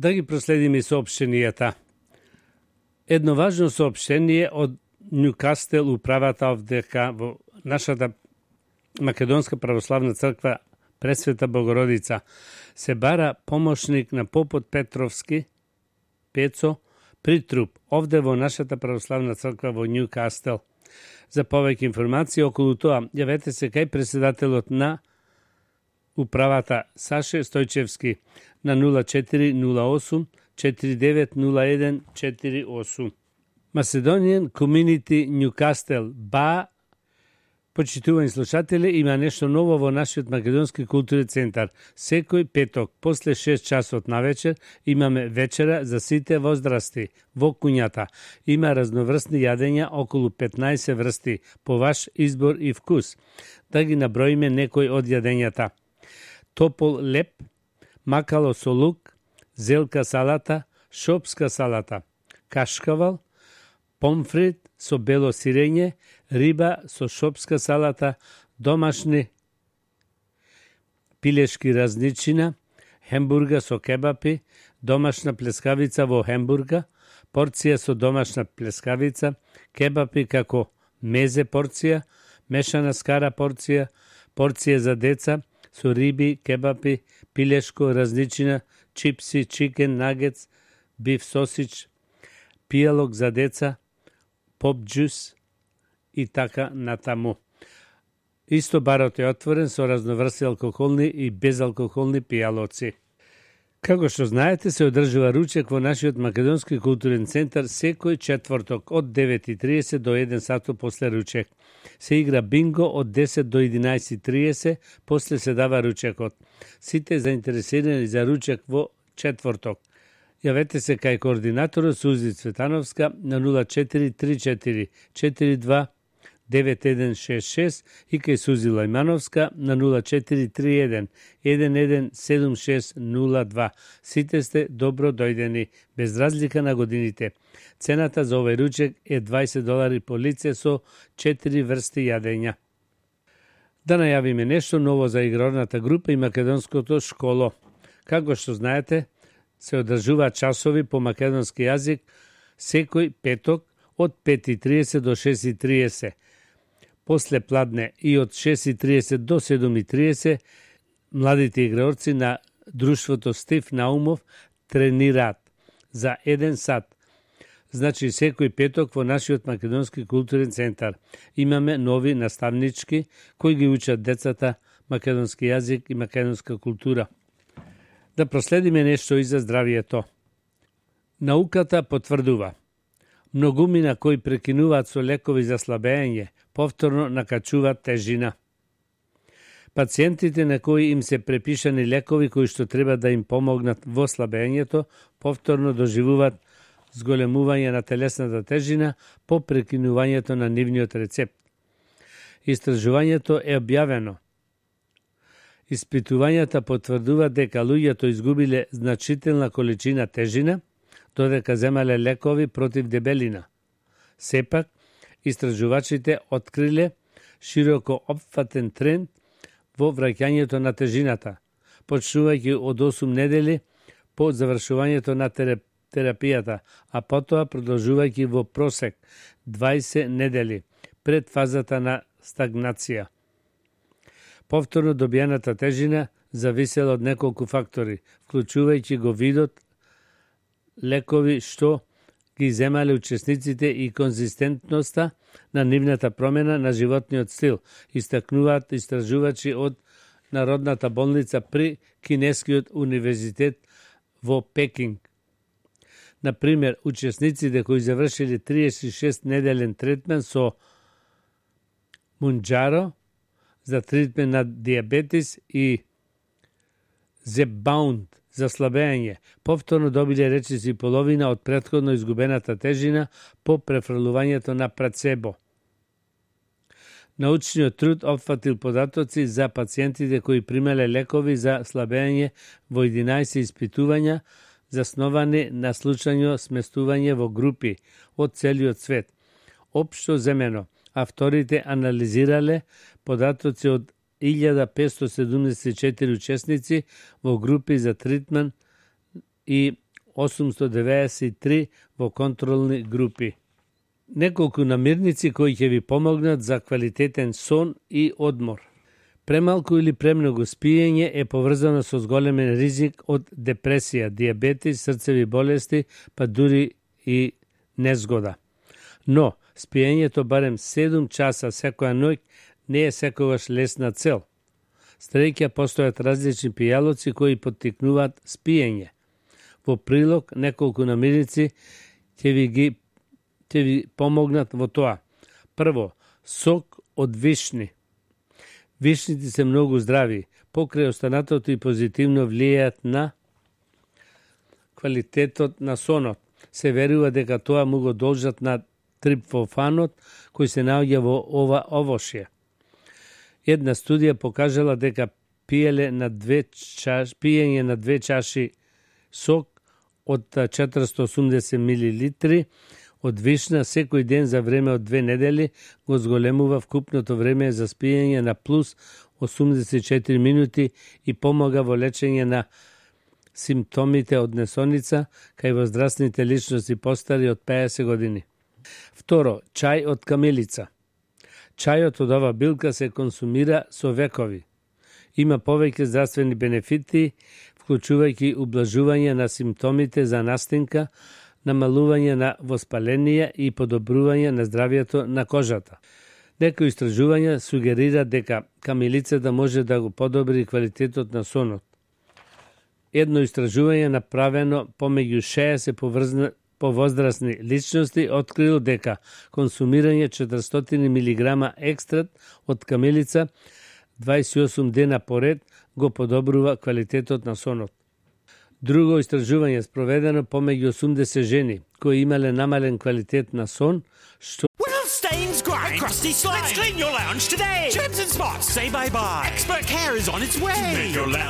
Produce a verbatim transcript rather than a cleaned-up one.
Да ги проследиме соопштенијата. Едно важно соопштение од Нјукастел, управата дека во нашата Македонска православна црква Пресвета Богородица се бара помошник на попот Петровски, Пецо, Притруп, овде во нашата православна црква во Нјукастел. За повеќе информации околу тоа, јавете се кај председателот на управата Саше Стојчевски на нула четири нула осум четири девет нула еден четири осум. Macedonian Community Newcastle, Ба, почитувани слушатели, има нешто ново во нашиот македонски културен центар. Секој петок, после шест часот на вечер, имаме вечера за сите возрасти во куњата. Има разноврстни јадења, околу петнаесет врсти, по ваш избор и вкус. Да ги наброиме некои од јадењата. Топол леп, макало со лук, зелка салата, шопска салата, кашкавал, помфрит со бело сирење, риба со шопска салата, домашни пилешки разничина, хембурга со кебапи, домашна плескавица во хембурга, порција со домашна плескавица, кебапи како мезе порција, мешана скара порција, порција за деца со риби, кебапи, пилешко разничина, чипси, чикен, нагетс, биф сосич, пијалок за деца, поп джус и така натаму. Исто барот е отворен со разноврсти алкохолни и безалкохолни пијалоци. Како што знаете, се одржува ручек во нашиот македонски културен центар секој четврток од девет и тридесет до еден сато после ручек. Се игра бинго од десет до единаесет и тридесет, после се дава ручекот. Сите заинтересирани за ручек во четврток. Јавете се кај координаторот Сузи Цветановска на нула четири три четири четири два девет еден шест шест и кај Сузи Лајмановска на нула четири три еден еден еден седум шест нула два. Сите сте добро дојдени, без разлика на годините. Цената за овој ручек е дваесет долари по лице со четири врсти јадења. Да најавиме нешто ново за игрорната група и македонското школо. Како што знаете, се одржуваат часови по македонски јазик секој петок од пет и тридесет до шест и тридесет. После пладне и од шест и тридесет до седум и тридесет младите играорци на друштвото Стив Наумов тренираат за еден сат. Значи секој петок во нашиот македонски културен центар имаме нови наставнички кои ги учат децата македонски јазик и македонска култура. Да проследиме нешто и за здравието. Науката потврдува. Многумина кои прекинуваат со лекови за слабење, повторно накачуваат тежина. Пациентите на кои им се препишани лекови кои што треба да им помогнат во слабењето, повторно доживуваат зголемување на телесната тежина по прекинувањето на нивниот рецепт. Истражувањето е објавено. Испитувањата потврдуваат дека луѓето изгубиле значителна количина тежина, додека земале лекови против дебелина. Сепак, истражувачите откриле широко опфатен тренд во враќањето на тежината, почнувајќи од осум недели по завршувањето на терапијата, а потоа продолжувајќи во просек дваесет недели пред фазата на стагнација. Повторно добијаната тежина зависела од неколку фактори, вклучувајќи го видот лекови што ги земале учесниците и конзистентноста на нивната промена на животниот стил, истакнуваат истражувачи од Народната болница при Кинескиот универзитет во Пекинг. Например, учесниците кои завршиле триесет и шест неделен третман со Мунџаро за тритмент на диабетис и Зепбаунд за слабење, повторно добиле речиси половина од претходно изгубената тежина по префрлувањето на працебо. Научниот труд опфатил податоци за пациентите кои примале лекови за слабење во единаесет испитувања засновани на случајно сместување во групи од целиот свет. Општо земено, авторите анализирале податоци од илјада петстотини седумдесет и четири учесници во групи за тритман и осумсто деведесет и три во контролни групи. Неколку намирници кои ќе ви помогнат за квалитетен сон и одмор. Премалку или премногу спиење е поврзано со зголемен ризик од депресија, дијабетис, срцеви болести, па дури и незгода. Но, спиењето барем седум часа секоја ноќ не е секогаш лесна цел. Стреќа постојат различни пијалоци кои поттикнуваат спиење. Во прилог, неколку намирници ќе ви ги ќе ви помогнат во тоа. Прво, сок од вишни. Вишните се многу здрави, покрај останатото и позитивно влијаат на квалитетот на сонот. Се верува дека тоа му го должат на трипфофанот кој се наоѓа во ова овошје. Една студија покажала дека пиеле на две чаш, пиење на две чаши сок од четиристо и осумдесет милилитри од вишна секој ден за време од две недели го зголемува вкупното време за спиење на плюс осумдесет и четири минути и помага во лечење на симптомите од несоница кај возрастните личности постари од педесет години. Второ, чај од камилица. Чајот од ова билка се консумира со векови. Има повеќе здравствени бенефити, вклучувајќи ублажување на симптомите за настинка, намалување на воспаленија и подобрување на здравјето на кожата. Некои истражувања сугерира дека камилицата може да го подобри квалитетот на сонот. Едно истражување направено помеѓу шеесет повозрастни личности открило дека консумирање четиристотини милиграма екстракт од камилица дваесет и осум дена поред го подобрува квалитетот на сонот. Друго истражување спроведено помеѓу осумдесет жени кои имале намален квалитет на сон, што Will stains grind, crusty slime. Let's clean your lounge today. Germs and spots, say bye-bye. Expert care is on its way. Make your lounge